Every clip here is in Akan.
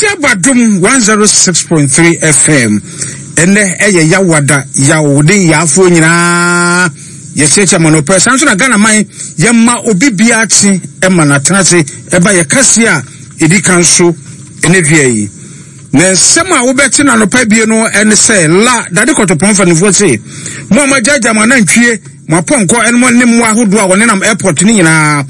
Kwasi Abadom 106.3 FM. Ɛnɛ ɛyɛ yawada yawode yaafoɔ nyinaa yɛkyerɛkyerɛ ma no pɛ saa nso na Ghana man yɛma obi biara kye ɛma n'atena ase ɛba yɛ kaseɛ a ɛdi kan so ɛnɛ dua yi. Na nsɛm a wobɛte no anɔpa bie no ɛne sɛ la dade kɔtɔpɔn mpanimfoɔ se mo a moagyaagyaa mo anantwie mo apɔnkɔ ɛne mo ne mmoa ahodoɔ a wɔnenam airport no nyinaa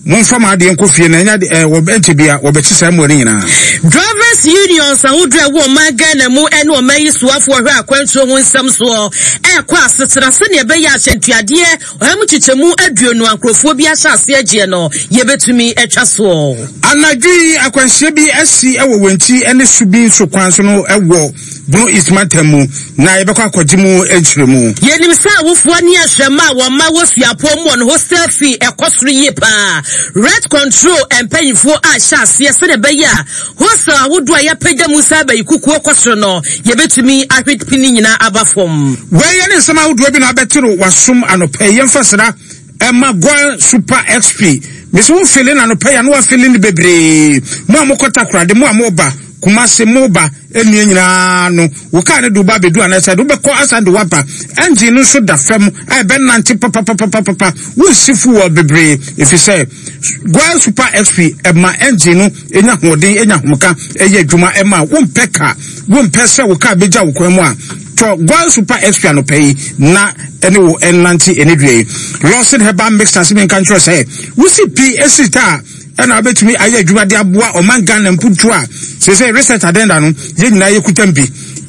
Momfa mo adeɛ nkɔ fie na ɛnyɛ ade ɛɛ wɔ ɛnkyɛ bia wɔbɛkye saa mmoa no nyinaa. Drivers Unions ahodoɔ a ɛwɔ ɔman Ghana mu ne ɔman yi soafoɔ hwɛ akwantuo ho nsɛm soɔ ɛrekɔ asetena sɛdeɛ ɛbɛyɛ ahyɛntuadeɛ ɔha mu kyekyɛmu aduonu a nkurɔfoɔ bi ahyɛ aseɛ gyeɛ no yɛbɛtumi atwa soɔ. Anadwo yi akwanhyia bi asi wɔ Wenchi ne Subin so kwan so no wɔ Bono East mantam mu na yɛbɛkɔ akɔgye mu nkyerɛmu. Yɛnim sɛ awofoɔ ne ahwɛmma a wɔn mma wɔ suapɔn mu wɔn hostel fee ɛkɔ soro yie paa. Rent control mpanyinfoɔ ahyɛ aseɛ sɛdeɛ ɛbɛyɛ a hostel ahodoɔ a yɛapagya mu sɛ abayi kukuo kɔ soro no yɛbɛtumi ahwe pi ne nyinaa aba fam. Wei ne nsɛm ahodoɔ bi na abɛte no w'asom anɔpa yi. Yɛmfa sra ɛma Goil Super XP. Mese wo fele no anɔpa yi a na wafele no bebree. Mo a mokɔ Takoradi, mo a moba Kumasi, moba nnua nyinaa no, wo kaa no de wo ba abɛdu anaasɛ de wobɛkɔ asan de woaba. Engine no nso da fam a ɛbɛnante papapapapa. Wonsi fuel bebree ɛfiri sɛ Goil Super XP ɛma engine no ɛnya ahoɔden, ɛnya ahomka, ɛyɛ adwuma ɛma wompɛ ka, wompɛ sɛ wo kaa bɛgya wo kwan mu a tɔ Goil Super XP anɔpa yi na ɛne wo ɛnante ɛne dua yi. Lawson Herbal Mixture se menka nkyerɛ sɛ wosi pi ɛsi ta a ɛna wobɛtumi ayɛ adwuma de aboa ɔman Ghana mpuntuo a seesei research agenda no yɛn nyinaa yɛkutam bi.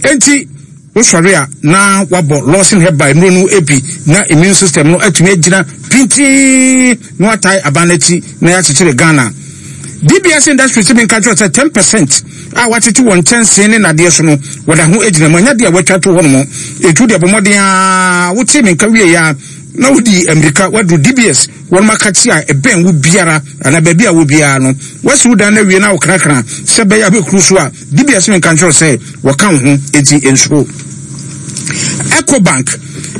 Enti wosɔre a na wabɔ Lawson Herbal nnuro no bi na immune system no atumi agyina pintinn na watae aban no akyi na yɛakyekyere Ghana. DBS Industries tumi nka kyerɛ sɛ 10 percent a wɔatete wɔn nkyɛnsee ne nnadeɛ so no wɔda ho gyina mu ɛnyɛ adeɛ a wɔatwa to hɔ nom. Ɛtu deɛ bɔ mmɔden a wotee me nka wieɛ a na wodi mmirika waduru DBS wɔn akakye a ɛbɛn wo biara anaa baabi a wɔ biara no wasi wo dan no awie na wokrakra sɛ bɛyɛ a wobɛkuru so a DBS menka nkyerɛ sɛ wɔka wo ho enti nsuro. Ecobank,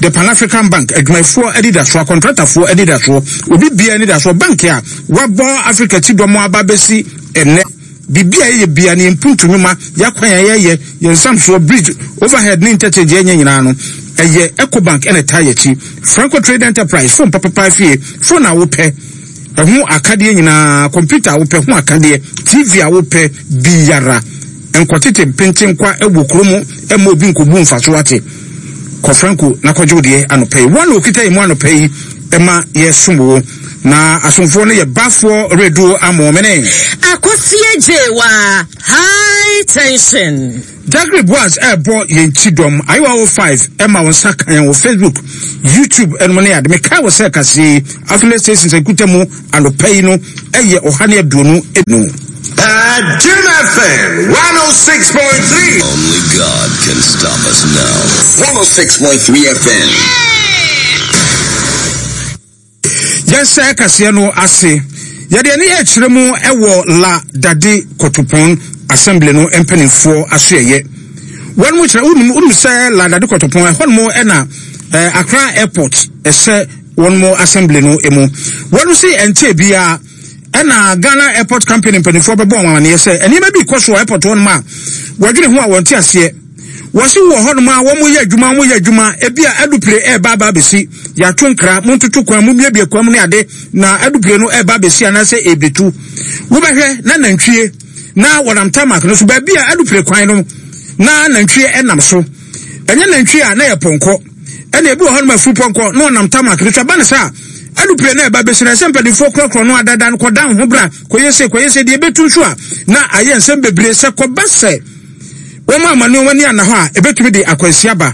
the Pan African Bank, adwumayɛfoɔ anidasoɔ, akɔntratafoɔ anidasoɔ, obi biara anidasoɔ, bank a wabɔ Africa ti dɔm aba bɛsi ɛnnɛ. Biribi a yɛyɛ biara no, yɛn mpuntu nnwuma, yɛn akwan a yɛyɛ, yɛn nsamsoɔ, bridge, overhead ne interchange yɛnyɛ nyinaa no, ɛyɛ Ecobank na ɛtaa yɛn akyi. Franco Trade Enterprise, phone papapa fie, phone a wopɛ, ɛho akadeɛ nyinaa, computer a wopɛ ho akadeɛ, TV a wopɛ biara. Nkɔtete mpentenkwa wɔ kuro mu mma obi nkɔbu mfaso ate. Kɔ Franco na kɔgye wo deɛ anɔpa yi. Wɔn na wɔkita yɛn mu anɔpa yi ma yɛsom wo. Na asomfoɔ no yɛ Bafoɔ Reduo Amoomene. Akosie Gyewa, High Tension. Jagri Boaz ɛrebɔ yɛn kyidɔm. Ayewa 05 ɛma wo nsa ka yɛn wɔ Facebook, YouTube ɛnom ne ade. Mekae wɔ sɛ kaseɛ yi, affiliate stations nkuta mu anɔpa yi no ɛyɛ 125. Jim FM 106.3. Only God can stop us now. 106.3 FM. Yɛnhyɛ kaseɛ no ase. Yɛde ani rekyerɛ mu wɔ La Dade Kotopon Assembly no mpanimfoɔ asoɛyɛ. Wɔn mu kyerɛ wonim wonim sɛ La Dade Kotopon ɛhɔ nom ɛna eh, Accra Airport ɛhyɛ wɔn mu assembly no mu. Wɔn si ɛnkyɛ biara ɛna Ghana Airport Company mpanimfoɔ bɛbɔ wɔn amaneɛ sɛ nneɛma bi kɔ so wɔ airport hɔ nom a wɔdwene ho a wɔnte aseɛ. Wɔse wɔ hɔnom a wɔn yɛ adwuma wɔn yɛ adwuma ebi a adupire ɛreba aba abɛsi yɛato nkra montoto kwan mu biebie kwan mu ne ade na adupire no ɛreba abɛsi anaasɛ ɛrebetu wobɛhwɛ na nantwie na wɔnam tarmac no so baabi a adupire kwan no na nantwie ɛnam so ɛnyɛ nantwie a na yɛ pɔnkɔ ɛna ebi wɔ hɔnom afuru pɔnkɔ na ɔnam tarmac no so ɛba ne saa adupire na ɛba bɛsi na ɛsɛ mpanimfoɔ korɔkorɔ no adada no kɔda ho bra kɔyɛ se kɔyɛ se deɛ ɛbɛtu nso a na ayɛ nsɛm bebree sɛ kɔba sɛ Wɔn amma nneɛma ani anna hɔ a, ebetumi de akwansi aba.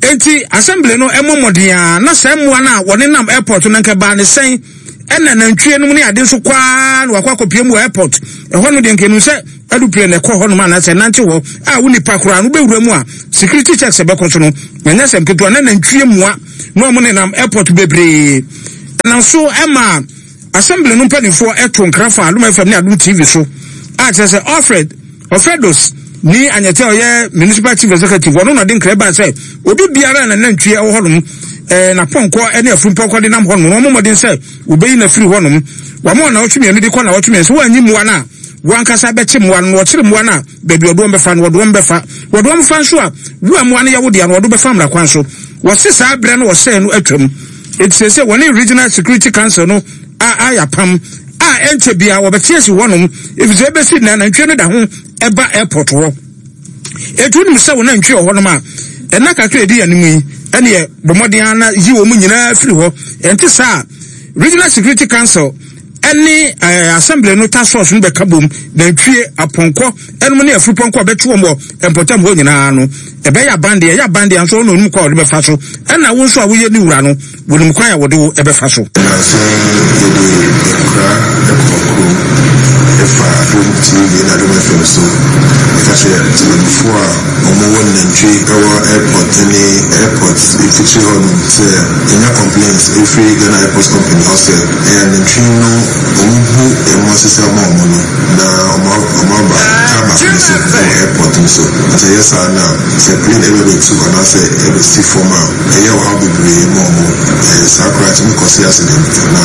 Enti, assembly no mmɔ mmɔden ara na saa mmoa no a wɔnenam airport no anka ɛbaa ne sɛn ɛna nantwie nom ne ade nso kɔ ara na wakɔ akɔpie mu wɔ airport. Ɛhɔ no deɛ nka ɛnu sɛ aeroplane na ɛkɔ hɔnom anaasɛ ɛnante hɔ a wo nipa koraa no wobɛwura mu a security checks ɛbɛkɔ so no ɛnyɛ sɛm ketewa na nantwie mmoa na wɔn nenam airport bebree. Ɛnam so ɛma Assembly no mpanimfoɔ ɛto nkra fa Adom FM ne Adom TV so a kyerɛ sɛ Alfred Ɔfɛdos ni Anyɛte a ɔyɛ Municipal Chief Executive, ɔno na ɔde nkra baa sɛ obi biara a n'anantwie wɔ hɔnom, eh, n'apɔnkɔ ne afurumpɔnkɔ de nam hɔnom no, wɔmmɔ mmɔden sɛ wɔbɛyi no afiri hɔnom. Wɔama ɔnawɔtwe mmienu de kɔ nnawɔtwe mmiɛnsa. Wɔanyi mmoa no a, Wankasa bɛkye mmoa no, na wɔkyere mmoa no a, baabi a ɔde wɔn bɛfa no, wɔde wɔn bɛfa. Wɔde wɔn fa nso a, wo a mmoa no yɛ wo dea no, wɔde wo bɛfa mmara kwan so. Wɔse saa berɛ no wɔsɛe no atwam. Enti seesei wɔne Regional Security Council no a ayɛ apam a ɛnkyɛ biara wɔbɛte asi hɔnom, efisɛ ebesi nnɛ anantwie no da ho ba airport hɔ. Enti wonim sɛ wo nantwie wɔ hɔnom a, ɛnna kakra a edi anim yi, ɛneɛ bɔ mmɔden ara na yi wɔn nyinaa firi hɔ. Ɛnte saa a, Regional Security Council ɛne ɛɛ assembly no task force no bɛka bom nantwie apɔnkɔ ɛnom ne afurupɔnkɔ a bɛtwe wɔn wɔ mpɔtam hɔ nyinaa no ɛbɛyɛ aban deɛ ɛyɛ aban deɛ nso ɔno onim kwan a wɔde bɛfa so ɛna wo nso a woyɛ ne wura no wɔnim kwan a wɔde wo ɛbɛfa so. Nnansa yi yɛde nkra kɔɔ kurom ɛfa Adom TV ne Adom FM so ɛka kyerɛ temanmufoɔ a wɔwɔ nantwie ɛwɔ airport ne airport mfikyire hɔ nom sɛ yɛnya complaints ɛfiri Ghana Airports Company hɔ sɛ Ɛyɛ anantwi no ɔmo hu ɛmo asesa ma ɔmo no na ɔmo ɔmo aba tarmac no so ɛwɔ airport no so nti ɛyɛ saa no a sɛ plane ɛbɛ bɛ tu anaasɛ ɛbɛ si fam a ɛyɛ ɔhaw bebree ma ɔmo ɛɛ saa koraa ɛtumi kɔse accident na.